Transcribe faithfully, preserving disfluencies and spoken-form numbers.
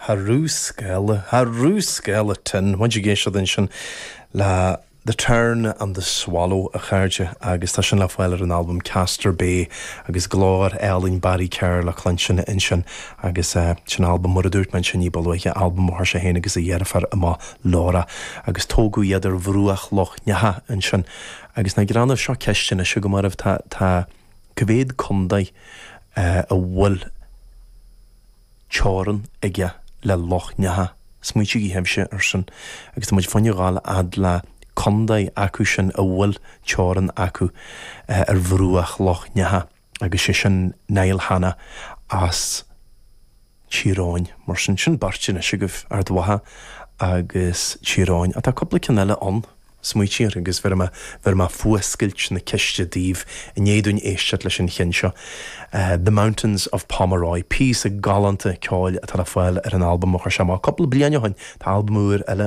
Cha raibh scéala cha raibh scéala tinn muid ag éisteacht ansin le The Tern and the Swallow a chairde agus tá sin le fáil ar an albam Castor Bay agus glór álainn Barry Kerr le cluinstin ansin agus uh, sin albam mar a dúirt mé sin ní ba luaithe albam a chuir sé féin agus a dheirfiúr amach Laura agus tógadh iad ar bhruach Loch Neacha ansin agus na granna seo ceistina se go mar tá tá cá mhéad contae uh, a bhfuil teorainn aige le Loch Neacha. Smaointigí sibhse ar sin agus tá muid fáinne gáil ad le contae acu sin a bhfuil teorainn acu uh, ar bhruach Loch Neacha agus sé sin Niall Hanna as Tír Eoghain mar sin sin beirt anois agaibh Ard Mhacha agus Tír Eoghain atá cúpla ceann eile ann smaointigí agus bheir mé bheir mé fuascailt na ceiste daoibh i ndiaidh dúinn éisteacht leis an cheann seo. Uh, The Mountains of Pomeroy, píosa galánta ceoil atá le fáil ar an albam a chuir sé amach cúpla bliain ó shin tá albam úr eile